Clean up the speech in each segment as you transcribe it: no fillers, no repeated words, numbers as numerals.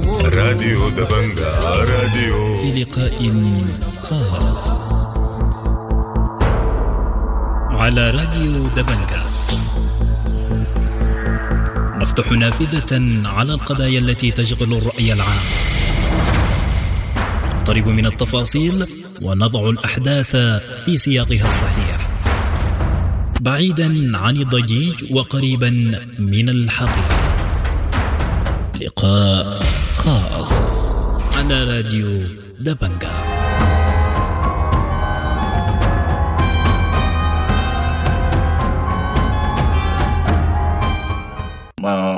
راديو دبنجا راديو في لقاء خاص على راديو دبنجا، نفتح نافذة على القضايا التي تشغل الرأي العام، نقترب من التفاصيل ونضع الأحداث في سياقها الصحيح، بعيدا عن الضجيج وقريبا من الحقيقة. لقاء خاص على راديو دبنجا.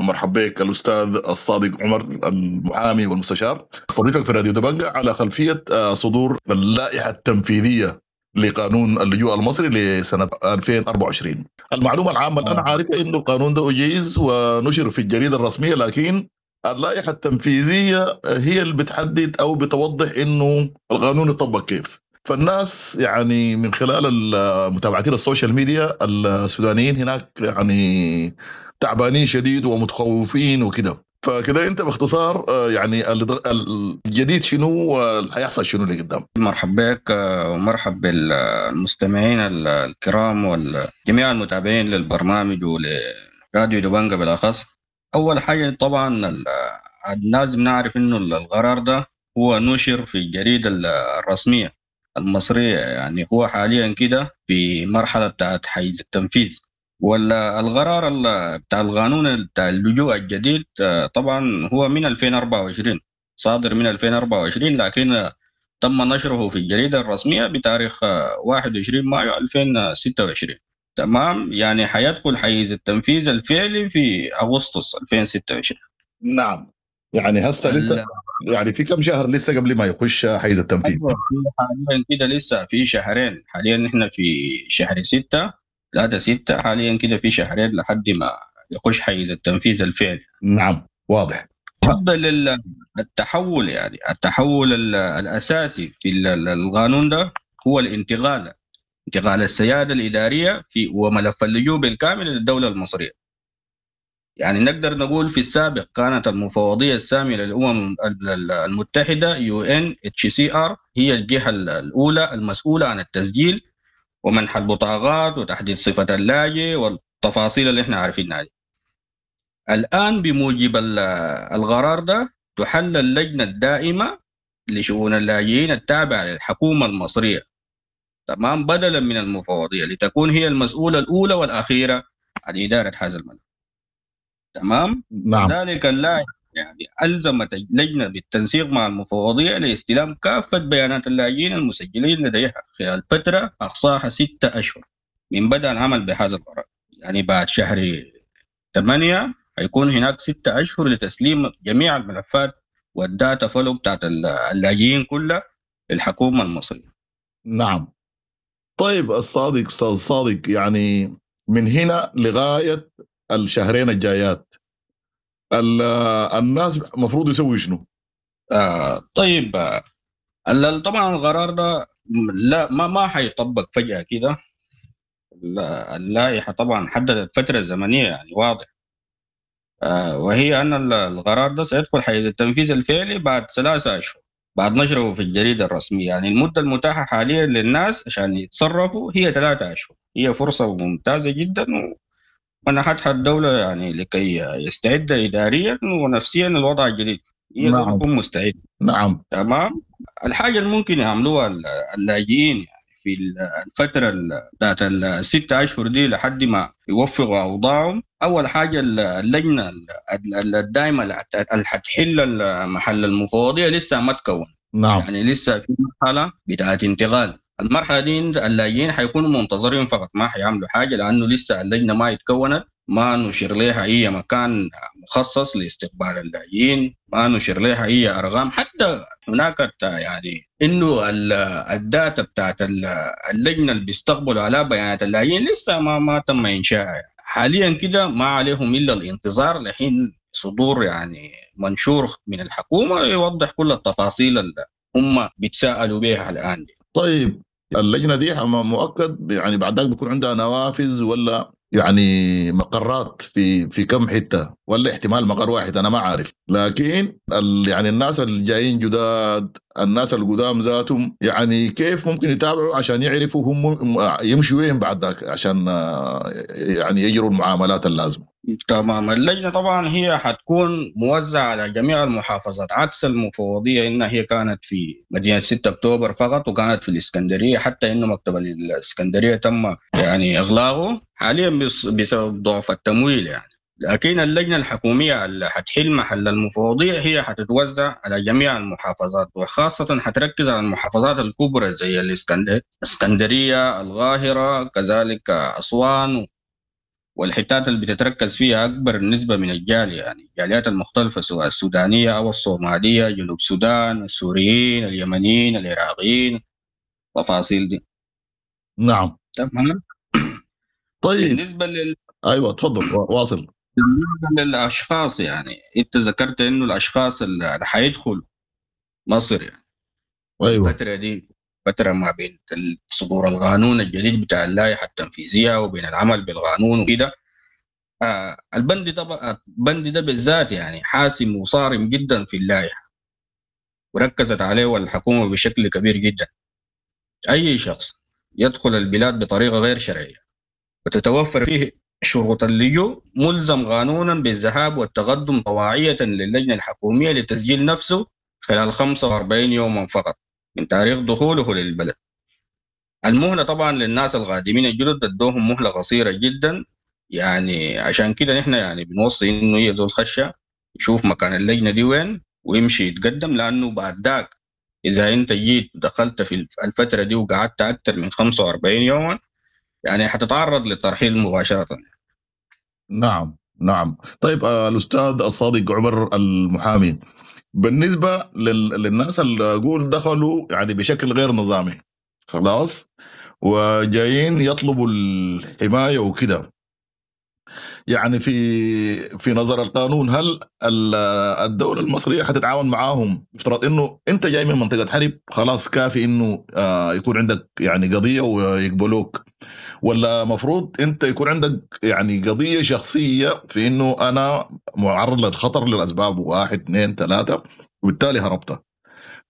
مرحبا بك الأستاذ الصادق عمر المحامي والمستشار، استضيفك في راديو دبنجا على خلفية صدور اللائحة التنفيذية لقانون اللجوء المصري لسنة 2024. المعلومة العامة اللي أنا عارفها إنه القانون ده أجيز ونشر في الجريدة الرسمية، لكن اللائحة التنفيذية هي اللي بتحدد أو بتوضح إنه القانون يطبق كيف. فالناس يعني من خلال متابعتين ال social media السودانيين هناك يعني تعبانين شديد ومتخوفين وكده. فكده انت باختصار يعني الجديد شنو وهيحصل شنو اللي قدام؟ مرحبا بك ومرحب بالمستمعين الكرام والجميع المتابعين للبرنامج ولراديو دبنجا بالاخص. اول حاجة طبعا لازم نعرف انه القرار ده هو نشر في الجريدة الرسمية المصرية، يعني هو حاليا كده في مرحلة بتاعت حيز التنفيذ. والقرار بتاع القانون بتاع اللجوء الجديد طبعا هو من 2024، صادر من 2024، لكن تم نشره في الجريدة الرسمية بتاريخ 21 مايو 2026. تمام، يعني حيدخل حيز التنفيذ الفعلي في أغسطس 2026. نعم، يعني هسه لسه يعني في كم شهر لسه قبل ما يخش حيز التنفيذ؟ حاليا كده لسه في شهرين، حاليا نحن في شهر 6 3/6، حاليا كده في شهرين لحد ما يخش حيز التنفيذ الفعلي. نعم، واضح. بالنسبة للتحول، يعني التحول الأساسي في القانون ده هو الانتقال، انتقال السيادة الإدارية في وملف اللجوء بالكامل للدولة المصرية. يعني نقدر نقول في السابق كانت المفوضية السامية للأمم المتحدة UNHCR هي الجهة الأولى المسؤولة عن التسجيل ومنح البطاقات وتحديد صفة اللاجئ والتفاصيل اللي احنا عارفينها دي. الآن بموجب القرار ده تحل اللجنة الدائمة لشؤون اللاجئين التابعة للحكومة المصرية، تمام، بدلا من المفوضية، لتكون هي المسؤولة الأولى والأخيرة عن إدارة هذا الملف. تمام؟ نعم. ذلك اللائحة يعني ألزمت اللجنة بالتنسيق مع المفوضية لاستلام كافة بيانات اللاجئين المسجلين لديها خلال فترة أقصاها 6 أشهر من بدء العمل بهذا القرار. يعني بعد شهر 8 هيكون هناك 6 أشهر لتسليم جميع الملفات وال data flow بتاعت اللاجئين كلها للحكومة المصرية. نعم. طيب الصادق، أستاذ صادق، يعني من هنا لغاية الشهرين الجايات الناس المفروض يسوي شنو؟ طيب، طبعا القرار ده لا ما حيطبق فجأة كده. اللائحة طبعا حددت فترة زمنية يعني واضح، وهي أن القرار ده سيدخل حيز التنفيذ الفعلي بعد 3 أشهر بعد نشره في الجريدة الرسمية. يعني المدة المتاحة حاليا للناس عشان يتصرفوا هي 3 أشهر، هي فرصة ممتازة جدا ومنحتها الدولة يعني لكي يستعد إداريا ونفسيا للوضع الجديد. نعم. يكون مستعد. نعم. تمام. الحاجة اللي ممكن يعملوها اللاجئين يعني في الفترة بتاعت 6 أشهر دي لحد ما يوفقوا أوضاعهم، أول حاجة اللجنة الدائمة اللي حتحل محل المفوضية لسه ما تكون. نعم. يعني لسه في مرحلة بتاعت انتقال. المرحلة دي اللاجئين حيكونوا منتظرين فقط، ما حيعملوا حاجة لأنه لسه اللجنة ما اتكونت، ما نشر لها أي مكان مخصص لاستقبال اللاجئين، ما نشر لها أي أرقام. حتى هناك يعني إنه ال data بتاعت اللجنة اللي بيستقبلوا على بيانات اللاجئين لسه ما تم إنشائها. حاليا كده ما عليهم إلا الانتظار لحين صدور يعني منشور من الحكومة يوضح كل التفاصيل اللي هم بيتساءلوا بها الآن دي. طيب اللجنة دي مؤكد يعني بعد ذلك بيكون عندها نوافذ ولا يعني مقرات في كم حتة، ولا احتمال مقر واحد انا ما عارف. لكن يعني الناس اللي جايين جداد، الناس القدام ذاتهم، يعني كيف ممكن يتابعوا عشان يعرفوا هم يمشوا وين بعد ذاك عشان يعني يجروا المعاملات اللازمة؟ تمام. اللجنة طبعا هي حتكون موزعة على جميع المحافظات، عكس المفوضية إنها هي كانت في مدينة 6 أكتوبر فقط، وكانت في الإسكندرية، حتى إنه مكتب الإسكندرية تم يعني إغلاقه حاليا بسبب ضعف التمويل يعني. لكن اللجنة الحكومية اللي حتحل محل المفوضية هي حتتوزع على جميع المحافظات، وخاصة حتركز على المحافظات الكبرى زي الإسكندرية، القاهرة، كذلك أسوان، والحتات اللي بتتركز فيها أكبر نسبة من الجالية، يعني الجاليات المختلفة سواء السودانية أو الصومالية، جنوب السودان، السوريين، اليمنيين، العراقيين، تفاصيل دي. نعم. تمام. طيب. بالنسبة أيوة تفضل واصل. بالنسبة للأشخاص، يعني أنت ذكرت إنه الأشخاص اللي حيدخلوا مصر يعني أيوة. الفترة دي فترة ما بين صدور القانون الجديد بتاع اللائحة التنفيذية وبين العمل بالقانون وكده. البند ده، البند ده بالذات يعني حاسم وصارم جدا في اللائحة، وركزت عليه الحكومة بشكل كبير جدا. أي شخص يدخل البلاد بطريقة غير شرعية وتتوفر فيه شروط اللجوء ملزم قانونا بالذهاب والتقدم طواعية للجنة الحكومية لتسجيل نفسه خلال 45 يوما فقط من تاريخ دخوله للبلد. المهلة طبعا للناس القادمين الجدد ادوهم مهلة قصيرة جدا، يعني عشان كده نحن يعني بنوصي انه يزول خشة يشوف مكان اللجنة دي وين ويمشي يتقدم، لانه بعد ذاك اذا انت جيت دخلت في الفترة دي وقعدت اكثر من 45 يوما يعني حتتعرض للترحيل مباشرة. نعم نعم. طيب الأستاذ الصادق عمر المحامي، بالنسبة للناس اللي أقول دخلوا يعني بشكل غير نظامي خلاص وجايين يطلبوا الحماية وكده، يعني في نظر القانون هل الدولة المصرية حتتعاون معاهم؟ افترض انه انت جاي من منطقة حرب خلاص كافي انه يكون عندك يعني قضية ويقبلوك، ولا مفروض انت يكون عندك يعني قضية شخصية في انه انا معرض للخطر للاسباب 1 2 3 وبالتالي هربت؟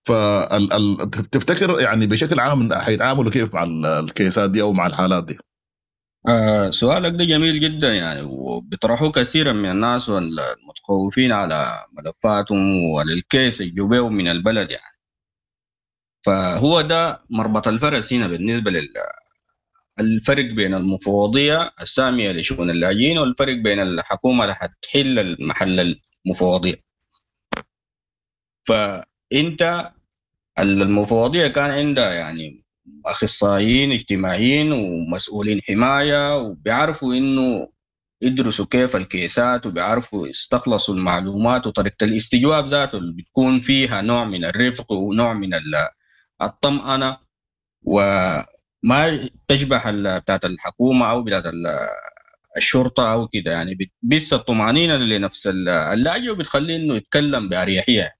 فتفتكر يعني بشكل عام حيتعاملوا كيف مع الكيسات دي او مع الحالات دي؟ سؤالك ده جميل جدا يعني، وبيطرحوه كثيرا من الناس والمتخوفين على ملفاتهم وللكيس الجوبيو من البلد يعني. فهو ده مربط الفرس هنا بالنسبة للفرق بين المفوضية السامية لشؤون اللاجئين والفرق بين الحكومة اللي حتحل محل المفوضية. فأنت المفوضية كان عندها يعني أخصائيين اجتماعيين ومسؤولين حماية، وبيعرفوا إنه يدرسوا كيف الكيسات وبيعرفوا يستخلصوا المعلومات، وطريقة الاستجواب ذاته اللي بتكون فيها نوع من الرفق ونوع من الطمأنة، وما تشبه بتاعت الحكومة أو بتاعت الشرطة أو كده يعني، بس الطمأنينة لنفس اللاجئ وبتخليه إنه يتكلم بأريحية.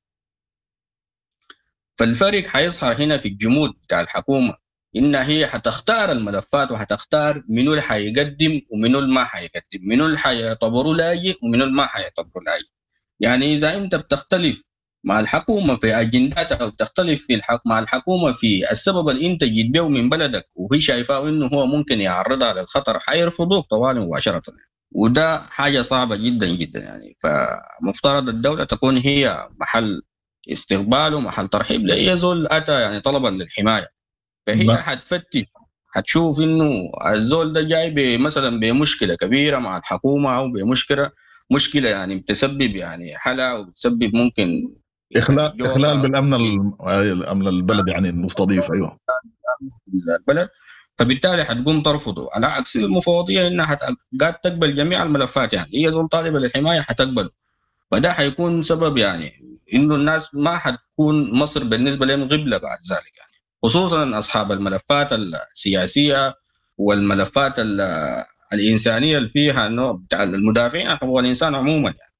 فالفرق حيظهر هنا في الجمود بتاع الحكومة، إن هي حتختار الملفات وحتختار منو اللي حيقدم ومنو اللي ما حيقدم، منو اللي حيعتبره لاجئ ومنو اللي ما حيعتبره لاجئ. يعني إذا أنت بتختلف مع الحكومة في أجنداتها أو بتختلف في مع الحكومة في السبب اللي أنت جيت به من بلدك وهي شايفاه إنه هو ممكن يعرضها للخطر، حيرفضوك طوال مباشرة، وده حاجة صعبة جدا جدا يعني. فمفترض الدولة تكون هي محل استقبال ومحل ترحيب لأي زول أتى يعني طلبا للحماية. فهي حتفتش حتشوف إنه الزول ده جاي مثلا بمشكلة كبيرة مع الحكومة أو بمشكلة مشكلة يعني بتسبب يعني حالة وبتسبب ممكن إخلال بالأمن الأمن البلد يعني المستضيف. أيوة البلد، فبالتالي حتقوم ترفضه، على عكس المفوضية إنها قاعد تقبل جميع الملفات يعني، هي زول طالبة للحماية حتقبله. فده حيكون سبب يعني إنه الناس ما حتكون مصر بالنسبة لهم قبلة بعد ذلك يعني، خصوصا أصحاب الملفات السياسية والملفات الإنسانية اللي فيها إنه بتاع المدافعين عن حقوق الإنسان عموما يعني.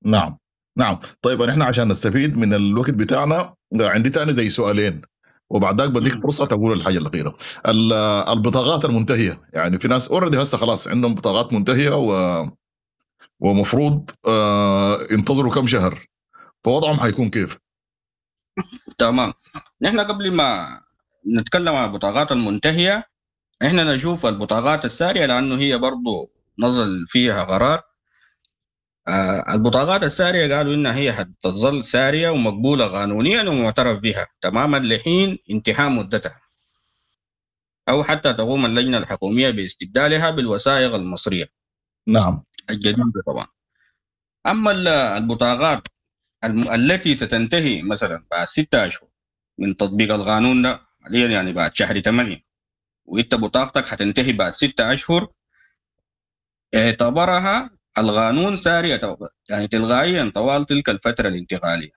نعم نعم. طيب نحن عشان نستفيد من الوقت بتاعنا عندي تاني زي سؤالين، وبعد ذاك بديك فرصة تقول الحاجة الاخيرة. البطاقات المنتهية، يعني في ناس already هسه خلاص عندهم بطاقات منتهية ومفروض ينتظروا كم شهر، فوضعهم حيكون كيف؟ تمام. نحن قبل ما نتكلم عن البطاقات المنتهية احنا نشوف البطاقات الساريه، لانه هي برضو نزل فيها قرار. البطاقات الساريه قالوا انها هي حتظل ساريه ومقبوله قانونيا ومعترف بها تماما لحين انتهاء مدتها، او حتى تقوم اللجنة الحكومية باستبدالها بالوثائق المصرية. نعم. الجديدة طبعا. اما البطاقات التي ستنتهي مثلا بعد 6 اشهر من تطبيق القانون ده حاليا، يعني بعد شهر 8، وانت بطاقتك حتنتهي بعد 6 اشهر، اعتبرها القانون سارية يعني تلغائيا طوال تلك الفترة الانتقالية.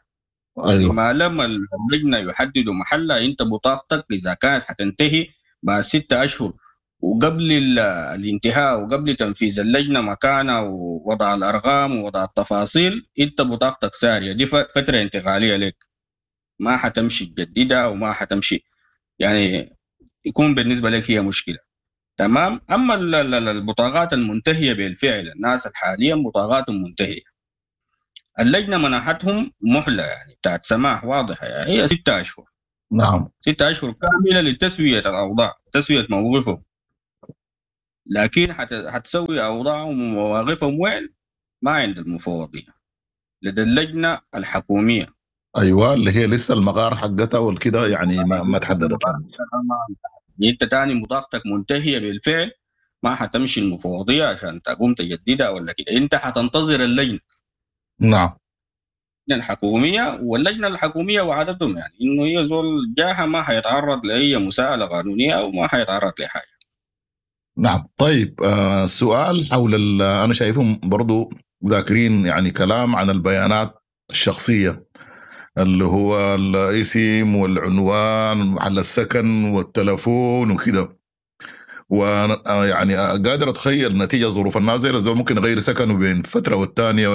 أيوة. ما لم اللجنة يحددوا محلها، انت بطاقتك اذا كانت حتنتهي بعد 6 اشهر وقبل الانتهاء وقبل تنفيذ اللجنة مكانها ووضع الارقام ووضع التفاصيل، انت بطاقتك سارية. دي فترة انتقالية لك، ما حتمشي تجددها وما حتمشي، يعني يكون بالنسبة لك هي مشكلة. تمام. اما البطاقات المنتهية بالفعل، الناس حاليا بطاقاتهم منتهية، اللجنة منحتهم مهله يعني بتاعت سماح واضحة، يعني هي 6 اشهر. نعم. 6 اشهر كاملة لتسوية الاوضاع، تسويه موقفهم. لكن حتسوي اوضاعهم ومواقفهم وين؟ ما عند المفوضية، لدى اللجنة الحكومية. ايوه، اللي هي لسه المقار حقتها والكده، يعني ما تحددت. انت تاني بطاقتك منتهية بالفعل، ما حتمشي المفوضية عشان تقوم تجددها ولا كده، انت حتنتظر اللجنة. نعم. الحكومية، واللجنة الحكومية وعدتهم يعني انه هي زول جاها ما حيتعرض لاي مساءله قانونية او ما حيتعرض لحاجة. نعم. طيب، سؤال حول انا شايفهم برضو ذاكرين يعني كلام عن البيانات الشخصية، اللي هو الاسم والعنوان ومحل السكن والتلفون وكده، وانا يعني قادر اتخيل نتيجة ظروف الناس زي الزول ممكن يغير سكنه بين فترة والثانية،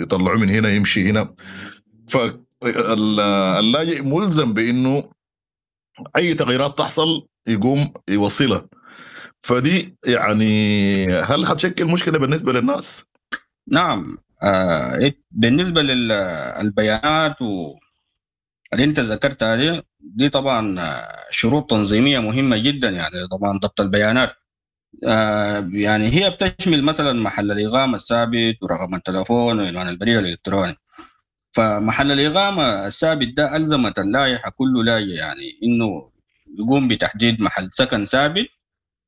يطلعوه من هنا يمشي هنا. فاللاجئ ملزم بانه اي تغييرات تحصل يقوم يوصلها، فدي يعني هل حتشكل مشكلة بالنسبة للناس؟ نعم. بالنسبة للبيانات اللي انت ذكرتها دي طبعا شروط تنظيميه مهمة جدا، يعني طبعا ضبط البيانات، يعني هي بتشمل مثلا محل الاقامة الثابت ورقم التلفون وعنوان البريد الالكتروني. فمحل الاقامة الثابت ده الزمت اللائحة كل لاجئ يعني انه يقوم بتحديد محل سكن ثابت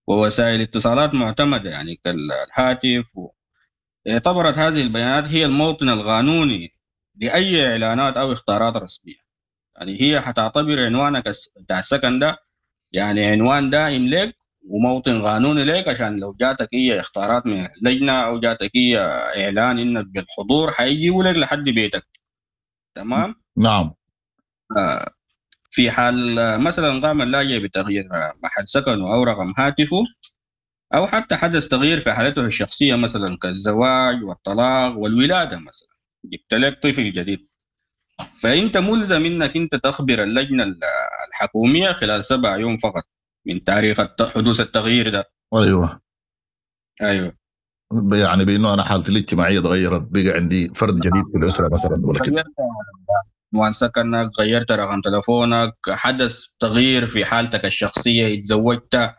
ووسائل اتصالات معتمدة يعني كالهاتف. اعتبرت هذه البيانات هي الموطن القانوني لاي اعلانات او اخطارات رسمية. يعني هي حتعتبر عنوانك بتاع السكن ده يعني عنوان دائم لك وموطن قانوني لك، عشان لو جاتك هي اخطارات من اللجنة او جاتك هي اعلان انك بالحضور حيجيبوا لك لحد بيتك. تمام؟ نعم. في حال مثلا قام اللاجئ بتغيير محل سكنه او رقم هاتفه، او حتى حدث تغيير في حالته الشخصية مثلا كالزواج والطلاق والولاده، مثلا جبت لك طفل جديد، فانت ملزم انك انت تخبر اللجنة الحكومية خلال 7 يوم فقط من تاريخ حدوث التغيير ده. ايوه ايوه، يعني بانه انا حالتي الاجتماعية تغيرت، بقى عندي فرد جديد في الاسرة مثلا ولا كده، عنوان سكنك، غيرت رقم تلفونك، حدث تغيير في حالتك الشخصية، اتزوجت،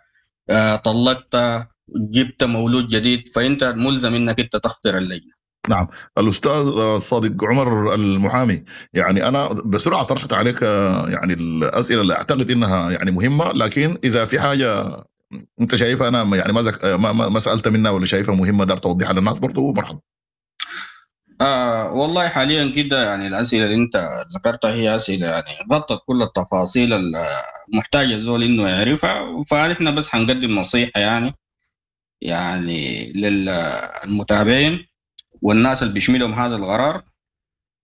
طلقت، جبت مولود جديد، فانت ملزم انك انت تخطر اللجنة. نعم. الاستاذ الصادق عمر المحامي، يعني انا بسرعة طرحت عليك يعني الاسئلة اللي اعتقد انها يعني مهمة، لكن اذا في حاجة انت شايفها انا يعني ما سالت منها ولا شايفها مهمة دار توضيحها للناس برضه مرحبا. والله حاليا كده يعني الاسئلة اللي انت ذكرتها هي اسئلة يعني غطت كل التفاصيل المحتاجه الزول انه يعرفها، فنحن بس حنقدم نصيحة يعني للمتابعين والناس اللي بيشملهم هذا القرار.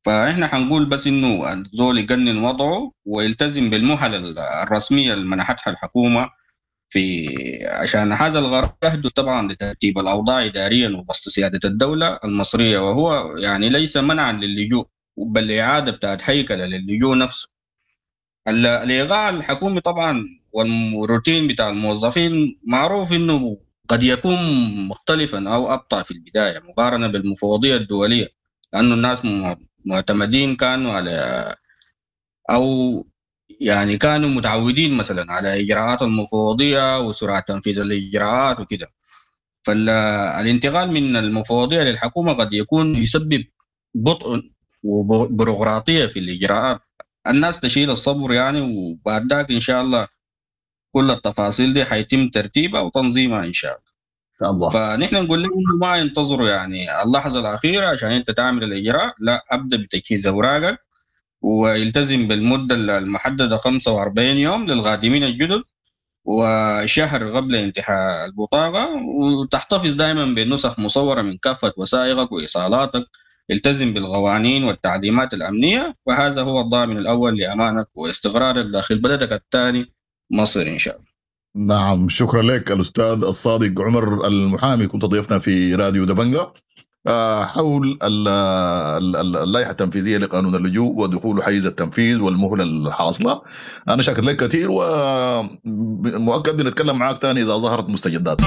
فاحنا حنقول بس انه الزول يقنن وضعه ويلتزم بالمهل الرسمية اللي منحتها الحكومة في عشان هذا القرار يهدف طبعا لترتيب الاوضاع اداريا وبسط سيادة الدولة المصرية، وهو يعني ليس منعا للجوء بل اعاده بتاعت هيكله للجوء نفسه. الايقاع الحكومي طبعا والروتين بتاع الموظفين معروف انه قد يكون مختلفا او ابطا في البداية مقارنة بالمفوضيه الدولية، لانه الناس معتمدين كانوا على او يعني كانوا متعودين مثلا على اجراءات المفوضية وسرعة تنفيذ الاجراءات وكده. فالانتقال من المفوضية للحكومة قد يكون يسبب بطء وبيروقراطيه في الاجراءات. الناس تشيل الصبر يعني، وبعد ذاك ان شاء الله كل التفاصيل دي حيتم ترتيبها وتنظيمها ان شاء الله. ان شاء الله. فنحن نقول لهم انه ما ينتظروا يعني اللحظة الاخيرة عشان انت تعمل الاجراء، لا، ابدا بتجهيز اوراقك ويلتزم بالمدة المحددة 45 يوم للغادمين الجدد وشهر قبل انتهاء البطاقة، وتحتفظ دائما بنسخ مصوره من كافة وثائقك وايصالاتك. التزم بالقوانين والتعليمات الامنية، فهذا هو الضامن الاول لامانك واستقرارك داخل بلدك الثاني مصر ان شاء الله. نعم، شكرا لك الاستاذ الصادق عمر المحامي، كنت ضيفنا في راديو دبنجة حول اللائحة التنفيذية لقانون اللجوء ودخول حيز التنفيذ والمهله الحاصلة. انا شاكر لك كثير، ومؤكد بنتكلم معاك ثاني اذا ظهرت مستجدات.